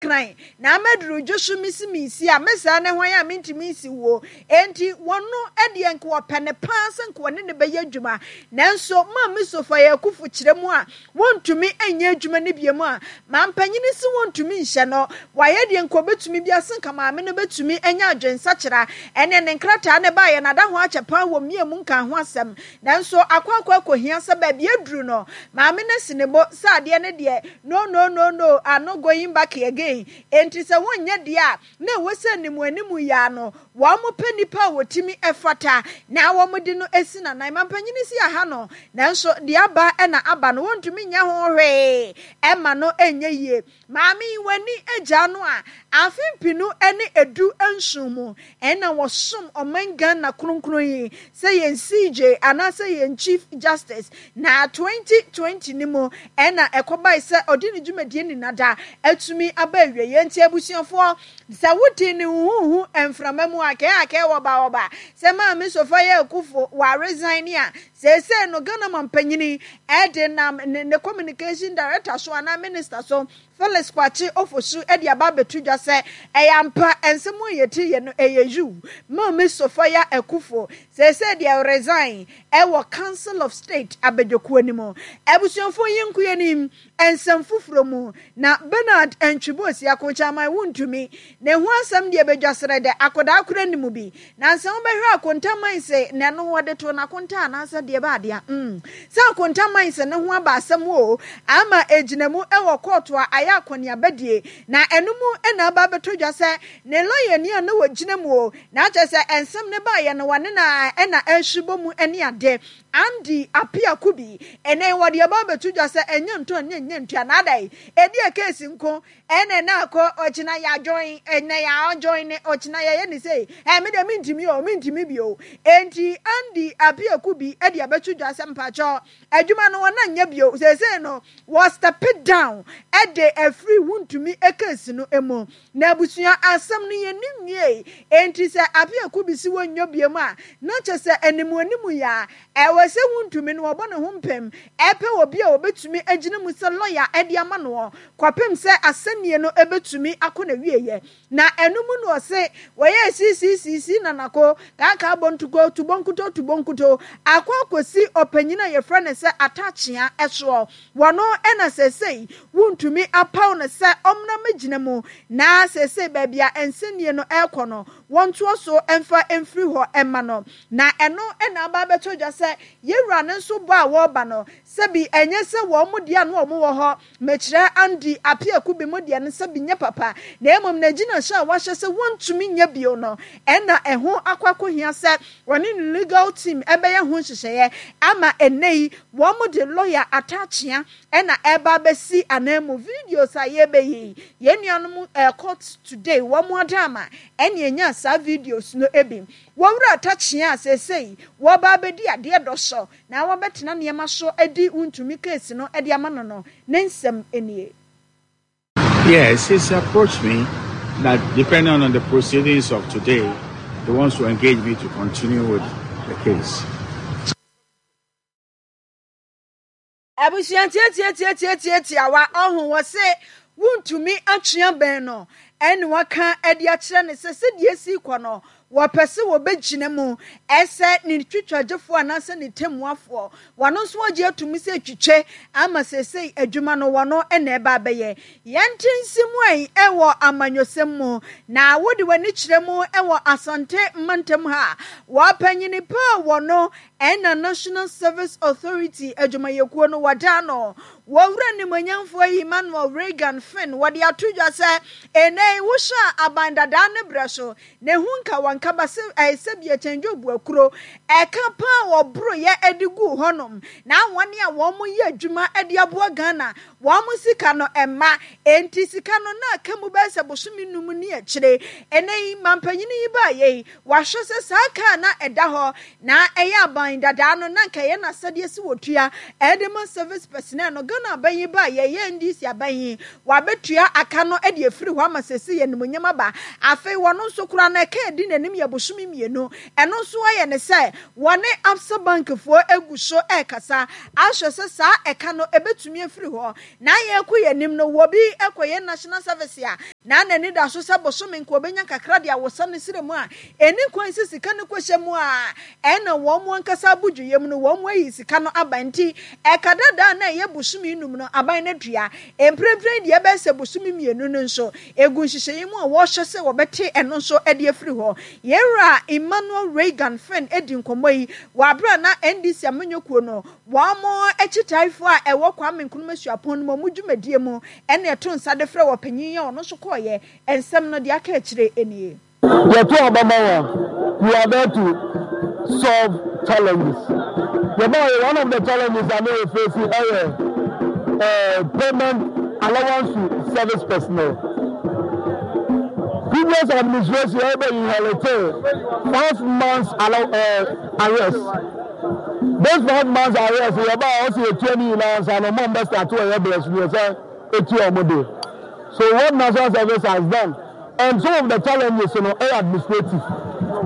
Nkran na ama duru dwo so mesi mensi a me saa ne hwan a mentumi nsi wuo enti wɔno deɛ nka wɔpɛ no paa sɛ nka wɔne no bɛyɛ adwuma nanso Maame Sophia Akuffo kyerɛ mu a wɔntumi nyɛ adwuma no biom a mampanyini se wɔntumi nhyɛ no wayɛ deɛ nka ɔbɛtumi bia se nka maame no bɛtumi anya adwensakyera ɛneɛ ne nkrataa no baeɛ no ada ho akyɛ paa wɔ mmea mu nkaa ho asɛm nanso akɔ akɔ akɔhia sɛ baabi aduru no maame no asi ne bo sɛ adeɛ no deɛ No no no no I'm not going back again Enti sɛ wonyɛ deɛ a na ɛwɔ sɛ animuanimu yi ara no wɔpɛ nnipa a wɔtumi fata na wɔde no si n'anan. Mampanyini si aha no nanso deɛ aba na aba no wɔntumi nyɛ ho hwee ɛma no nyɛ yie. Maame yi w'ani agyaa no a afe mpenu ne 17 mu Ɛna wɔsom ɔman Ghana kronkron yi sɛ yɛn CJ anaasɛ yɛn Chief Justice. Na 2020 no mu ɛna ɛkɔbae sɛ ɔde ne dwumadie ninada atumi aba awieɛ. Nti abusuafoɔ sɛ wote ne huhuhu mframa mu akɛɛ akɛɛ wɔba wɔba sɛ Maame Sophia Akuffo wa resign a, seesei no Ghana mampanyini ɛde nam ne communication director so anaa minister so Felix Kwakye Ofosu de aba abɛto dwa sɛ ɛyɛ ampa nsɛm a yɛte yɛ no ɛyɛ yiw. Maame Sophia Akuffo seesei deɛ resign wɔ Council of State abadwakuo no mu. Abusuafoɔ yi nko yɛnim nsɛm foforɔ mu na Bernard Antwi-Boasi Akonkyaman wontumi ne ho asɛm deɛ badwa serɛ dɛ akɔdaa koraa nni mu bi. Na sɛ wobɛhwɛ Akonta Mines na ɛno wɔde too n'akonta anaasɛ deɛ ɛbɛ adeɛ a, mm, sɛ Akonta Mines no ho aba asɛm o, ama ɛgyina mu wɔ kɔɔto a ayɛ akɔneaba die, na ɛno mu na aba abɛtɔ dwa sɛ ne lɔyani a na ɔgyina mu o, na kyerɛ sɛ nsɛm no baeɛ no wɔne no a na ɛrehye mu ne ade. Andy Appiah Kubi, ɛnnɛ yi wɔde aba abɛto dwa sɛ ɛnyɛ ntɔ ɛnyɛ nyɛ ntua na adɛn, ɛdeɛ keesi nko Ɛnɛ na akɔ ɔkyena yɛ adjoin ɛnɛ yɛ adjoin ne ɔkyena yɛyɛ ne sei ɛ me deɛ mentumi o mentumi bio enti Andy Apiaku bi de abɛto dwa sɛ mpakyɛ adwuma no wɔn anyɛ bio seesei no wɔ step down ɛde afiri wontumi case no mu na abusua asɛm no yɛnni nwiei enti sɛ Apiaku bi si wɔnyɔ bio mu a na kyɛ sɛ animuanimu yɛ a Ɛwɔ sɛ wontumi no wɔbɔ ne ho mpem pɛ obi a obetumi agyina mu sɛ lɔya de ama noɔ kɔpem sɛ asɛnnie no bɛtumi akɔ n'awieɛ. Na ɛno mu no ɔse wɔyɛɛ siisiisiisii nanako, kaakaa bontuko, tubonkuto tubonkuto akɔ akɔsi ɔpanyin a yɛfrɛ no sɛ Atakyea soɔ. Wɔno na seesei wontumi apaw no sɛ ɔmmra mmɛgyina mu na seesei baabi a nsɛnnie no rekɔ no wɔntoa so mfa mfiri hɔ mma no. Na ɛno na aba abɛtɔ dwa sɛ yɛn Wura no nso bɔ a wɔreba no, sɛbi ɛnyɛ sɛ wɔn deɛ a na wɔn wɔ hɔ, mekyerɛ Andy Appiah Kubi mo deɛ no sɛbi nyɛ papa, na mmom n'agyinahyɛ a wahyɛ sɛ wɔntumi nyɛ bio no na ɛho akɔ akɔhia sɛ wɔne ne legal team bɛyɛ ho nhyehyɛeɛ ama ɛnnɛ yi wɔn de lɔya Atta-Akyea na ɛreba abɛsi ananmu. Videos a yɛrebɛyɛ yi, yɛn nuanom Court Today wɔn adaama ɛne ɛnyaa saa videos no bi. Wɔwura Takyea a seesei wɔreba abɛdi adeɛ dɔ so na wɔbɛtena nneɛma so adi wontumi case no de ama no no, ne nsɛm nie. Yes, he's approached me that depending on the proceedings of today, he wants to engage me to continue with the case. Abusua tiatiatiatiatiatiawa ɔho wɔ se wontumi atwe abɛn no ɛne waka de akyerɛ no sɛ sɛdeɛ esi kɔ no wɔpɛ sɛ wɔbɛgyina mu ɛsɛ ne twitwagyefoɔ anaasɛ ne tɛmmuafoɔ wɔno nso wɔgye atum sɛ twitwe ama seesei adwuma no wɔno na ɛba abɛyɛ yɛnte nsi mu ɛn ɛwɔ amanyɔsɛm mu na wode w'ani kyerɛ mu ɛwɔ Asante mantam ha wɔpanyini paa wɔno Ɛna National Service Authority adwumayɛkuo no wɔda ano. Wɔwura nimuonyamfoɔ Emmanuel Reagan Finn wɔde ato dwa sɛ ɛnnɛ yi wohyɛ a aban dadaa no berɛ so na ɛho nka wɔn kaba sɛ ɛyɛ sɛ bi ɛkyɛn Job akuro ɛka paa wɔboroyɛ de guu hɔnom na wɔn a wɔn yɛ adwuma de aboa Ghana wɔn sika no ɛmma enti sika no na aka mu bɛyɛ sɛ bosome num ne akyire ɛnnɛ yi mampanyini yi baayɛ yi Wahwɛ sɛ saa kaa na ɛda hɔ na ɛyɛ aban dadaa no na anka ɛyɛ n'asɛdeɛ sɛ wɔtua ɛde ma service personnel no. Ghana aban yi baeɛ, ɛyɛ NDC aban yi, wabɛtua aka no de afiri hɔ ama seesei animuonyam aba. Afei wɔno nso koraa no ɛka a ɛdi n'anim yɛ bosome mmienu. Ɛno nso ayɛ ne sɛ wɔne Absa Bank foɔ gu so rekasa ahwɛ sɛ saa ɛka no ɛbɛtumi afiri hɔ. Na yɛrekɔ yɛn anim no, wɔbi kɔyɛ national service a, Na n'ani da so sɛ bosome nka ɔbɛnya kakra de awosa ne serɛ mu a, ɛnni kwan sɛ sika no kɔhyɛ mu a ɛna wɔn ankasa abodwoyɛ mu no wɔn ayi sika no aba nti ɛka dada a na ɛyɛ bosome num no aban no atua. Mprempren deɛ ɛbɛyɛ sɛ bosome mmienu no nso ɛgu nhyehyɛeɛ mu a wɔrehwɛ sɛ wɔbɛte ɛno nso de afiri hɔ. Yɛn wura Emmanuel Reagan Fenn di nkɔmmɔ yi wɔ aberɛ a na NDC amanyɔkuo no wɔn akyitaefoɔ a ɛwɔ Kwame Nkrumah Suapɔn no mu wɔn dwumadie mu ɛna ɛto nsa de frɛ ɔpanyin yi a ɔno nso kɔeɛ. Nsɛm no, deɛ aka akyire nie. Yɛto aba ma wo a, you are there to solve challenges. Yɛbaeɛ, one of the challenges a na yɛ face ɛyɛ eh, payment allowance to service personnel. Previous administration ɛbɛ inherit 5 months allow, arrears. Those 5 months arrears yɛbaeɛ ɔsɛ yɛtua ne nyinaa ansa na ɔmo mbɛ start wɔ yɛ brɛ so yɛ sɛ etua ɔmo de. So what National Service has done and some of the challenges no ɛyɛ administrative.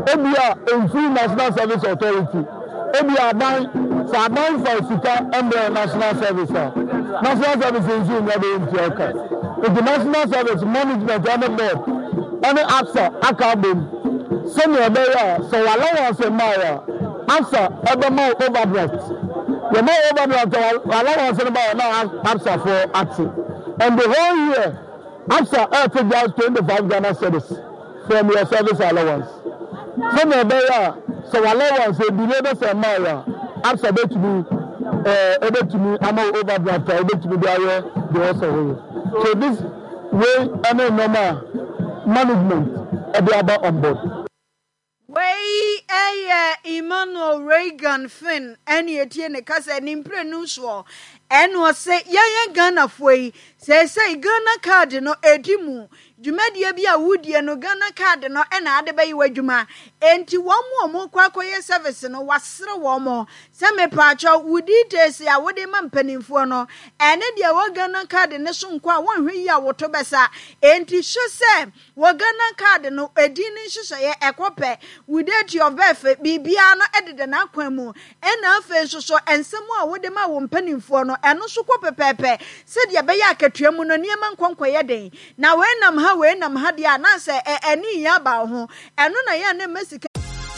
Ebia ɛnfiri National Service Authority. Ebia aban, sɛ aban fa sika mbrɛ National Service a, National Service nso nnya bɛyɛ ntua ka. Nti National Service management ɛne board ɛne ABSA aka abom sɛnea ɛbɛyɛ a sɛ w'allowance mmaeɛ a, ABSA ɛbɛma wo overdraft. Yɛma wo overdraft a, w'allowance no baeɛ na ABSA foɔ ate. And the whole year, ABSA ɛɛte just 25 Ghana cedis from your service allowance. Sɛnea ɛbɛyɛ a sɛ w'allowance ebi na sɛ mmaeɛ a, ABSA bɛtumi ɛɛ ɛbɛtumi ama wo overdraft a wobɛtumi de ayɛ deɛ ɔsɛ woyɛ. So this way ɛne nneɛma a management ɛde aba on board. Wei yɛ Emmanuel Reagan Finn ɛne ɛtie ne kasa ne mprenu soɔ ɛna ɔse yɛyɛ Ghanafoɔ yi seesei Ghana card no ɛdi mu dwumadie bi a wodie no Ghana card no ɛna ade bɛyɛ w'adwuma enti wɔn a wɔn kɔ akɔyɛ service no wasere wɔn sɛ mepaakyɛw wo details a wode ma mpanimfoɔ no ɛne deɛ wɔ Ghana card ne so nkɔ a wɔnhwɛ yi a woto bɛsa enti hwɛ sɛ wɔ Ghana card no edin ne nhyehyɛeɛ ɛkɔ pɛ, wo date of birth, biribiara no ɛdeda n'akwan mu. Ɛna afei nso so nsɛm a wode ma wo mpanimfoɔ no ɛno nso kɔ pɛpɛɛpɛ sɛdeɛ ɛbɛyɛ akatua mu no nneɛma nkɔ nkɔyɛ den. Na wei nam ha wei nam ha deɛ a na sɛ ɛne yɛ aba wo ho. Ɛno na yɛ a na ɛma sika.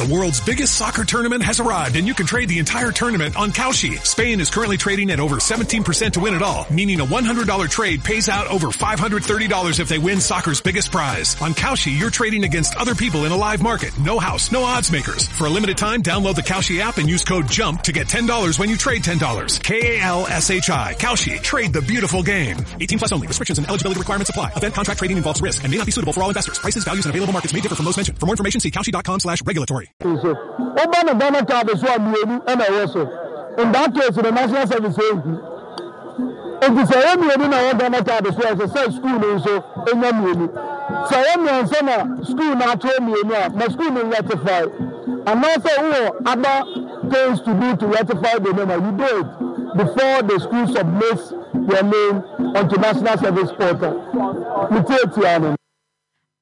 The world's biggest soccer tournament has arrived and you can trade the entire tournament on Kalshi. Spain is currently trading at over 17% to win it all, meaning a $100 trade pays out over $530 if they win soccer's biggest prize. On Kalshi, you're trading against other people in a live market. No house, no odds makers. For a limited time, download the Kalshi app and use code JUMP to get $10 when you trade $10. K-A-L-S-H-I. Kalshi. Trade the beautiful game. 18 plus only. Restrictions and eligibility requirements apply. Event contract trading involves risk and may not be suitable for all investors. Prices, values, and available markets may differ from those mentioned. For more information, see Kalshi.com slash regulatory. So woba no Ghana card so a mmienu na ɛwɔ so. In that case the National Service ehu. Nti sɛ ɛyɛ mmienu na ɛwɔ Ghana card so a ɛsɛ sɛ school no nso nya mmienu. Sɛ ɛyɛ mmiɛnsa na school no atwerɛ mmienu a ma school no rectify. Anaasɛ wowɔ other things to do to rectify the name a you do it before the school submits your name onto National Service portal. Metiatia no.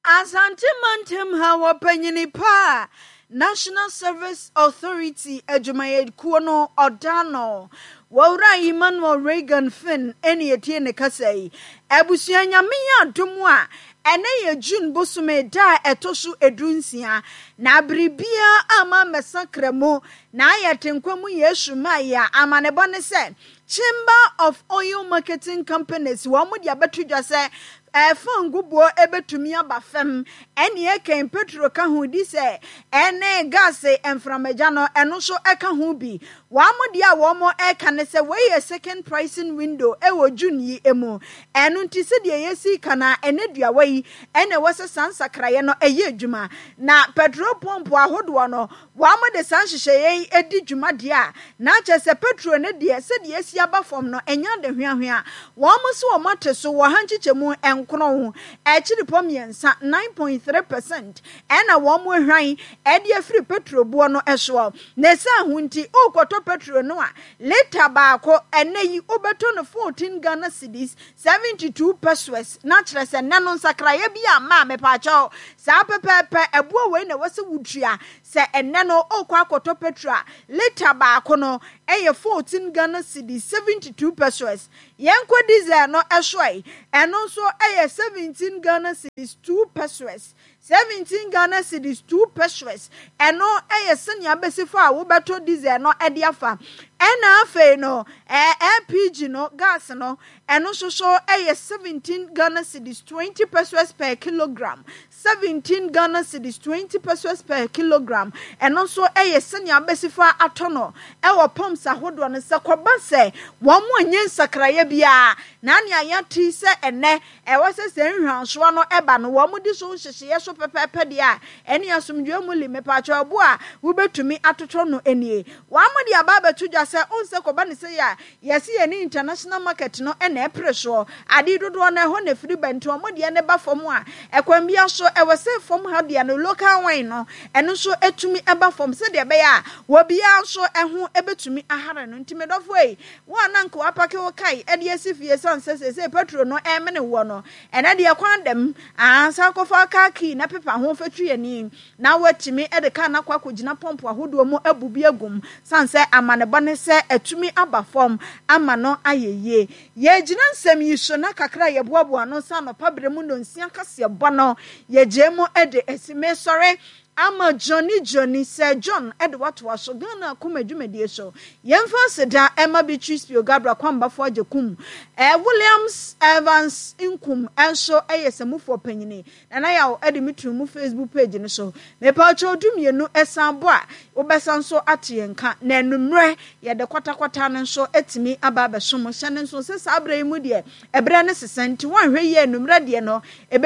Asante mantam ha wɔ panyini pa a National Service Authority adwumayɛkuo no ɔda no. Wɔwura Emmanuel Reagan Finn ɛne ɛtie ne kasa yi. Abusua Nyame yɛ adom a ɛnɛ yɛ June bosome da a ɛtɔ so 16 na biribiara ama mmɛsakra mu na ayɛ te nkwa mu Yesu ma yɛ a amanebɔ ne sɛ Chamber of Oil Marketing Companies wɔn de abɛto dwa sɛ fangoboɔ ɛbɛtumi aba fam ɛne ɛkɛn petro ka ho di sɛ ɛne gas mframagya no ɛno nso ɛka ho bi. Wɔn deɛ a wɔn ɛka ne sɛ wei yɛ second pricing window ɛwɔ June yi mu. Ɛno nti sɛdeɛ yɛsi ka na ɛnɛ duawa yi ɛna ɛwɔ sɛ saa nsakraeɛ no ɛyɛ adwuma. Na petrol pump ahodoɔ no wɔn de saa nhyehyɛeɛ yi adi dwuma deɛ a na kyerɛ sɛ petrol no deɛ sɛdeɛ esi aba fam no ɛnyɛ ade hweahwea. Wɔn nso wɔn ate so wɔ ha nkyekyɛmu 9.3, 9.3% ɛna wɔn ahwan ɛde afiri petrol boɔ no soɔ. Na ɛsan ho nti wokɔtɔ petrol no a litre baako ɛnɛ yi wobɛtɔ no 14 Ghana cedis 72 pesewas na kyerɛ sɛ nnɛ no nsakraeɛ bi a maa mepaakyɛw saa pɛpɛɛpɛ ɛboɔ wei na ɛwɔ sɛ wotua sɛ ɛnɛ no wokɔ akɔtɔ petrol a litre baako no ɛyɛ 14 Ghana cedis 72 pesewas. Yɛnkɔ diesel no ɛso ɛ, ɛno nso yɛ 17 Ghana cedis 2 pesewas, 17 Ghana cedis 2 pesewas. Ɛno yɛ sɛnea abɛsi fa a wobɛtɔ diesel no de afa. Ɛna afei no, LPG no, gas no, ɛno nso so yɛ 17 Ghana cedis 20 pesewas per kilogram. 17 Ghana cedis 20 pesewas per kilogram. Ɛno nso yɛ sɛnea abɛsi fa atɔ no wɔ pumps ahodoɔ no. Sɛ kɔba sɛ wɔn anyɛ nsakraeɛ biara, na nea yɛate yi sɛ ɛnnɛ ɛwɔ sɛ sɛ nhwansoɔ no ba no wɔn di so nhyehyeɛ so pɛpɛɛpɛ deɛ a, ɛne asomdwoeɛ mu li mepaakyɛw ɛbo a wobɛtumi atotɔ no nie. Wɔn de aba abɛto dwa sɛ wohu sɛ kɔba no sei a, yɛse yɛne international market no na ɛpere soɔ. Ade dodoɔ no ɛhɔ na ɛfiri ba nti wɔn deɛ no ba fam a, ɛkwan biara so ɛwɔ sɛ fam ha deɛ no local wine no ɛno nso ɛtumi ba fam sɛdeɛ ɛbɛyɛ a obiara nso ɛho ɛbɛtumi ahare no. Nti medɔfoɔ ei, Wo a na anka woapake wo kae de asi fie esiane sɛ seesei pɛtro no remene woɔ no, ɛnnɛ deɛ kwan da mu. Aa, san kɔfa kaa kii na pepa ho fa twi ani na woatumi de kaa no akɔ akɔgyina pɔmpo ahodoɔ mu abu bi agu mu sane sɛ amanebɔ ne sɛ atumi aba fam ama no ayɛ yie. Yɛregyina nsɛm yi so na kakra a yɛboaboa ano sɛ anɔpa berɛ mu nnɔnsia kaseɛbɔ no yɛgyae mu de asi. Mesɔre Ama Johnny Johnny Sir John de watoa so Ghana akoma dwumadie so. Yɛmfa aseda mma Beatrice Pio Gabriel Kwambafo Agyekum, Williams Evans Nkum nso yɛ samufoɔ panyini. Nana Yaw de me too mu Facebook page no so. Mepawkyɛw du-mmienu san bɔ a wobɛsan nso ate yɛn nka. Na anummerɛ yɛde kwatakwata no nso atumi aba abɛso mo. Hyɛ no nso sɛ saa berɛ yi mu deɛ ɛberɛ no sesa nti woanhwɛ yie a anummerɛ deɛ no ɛbɛ.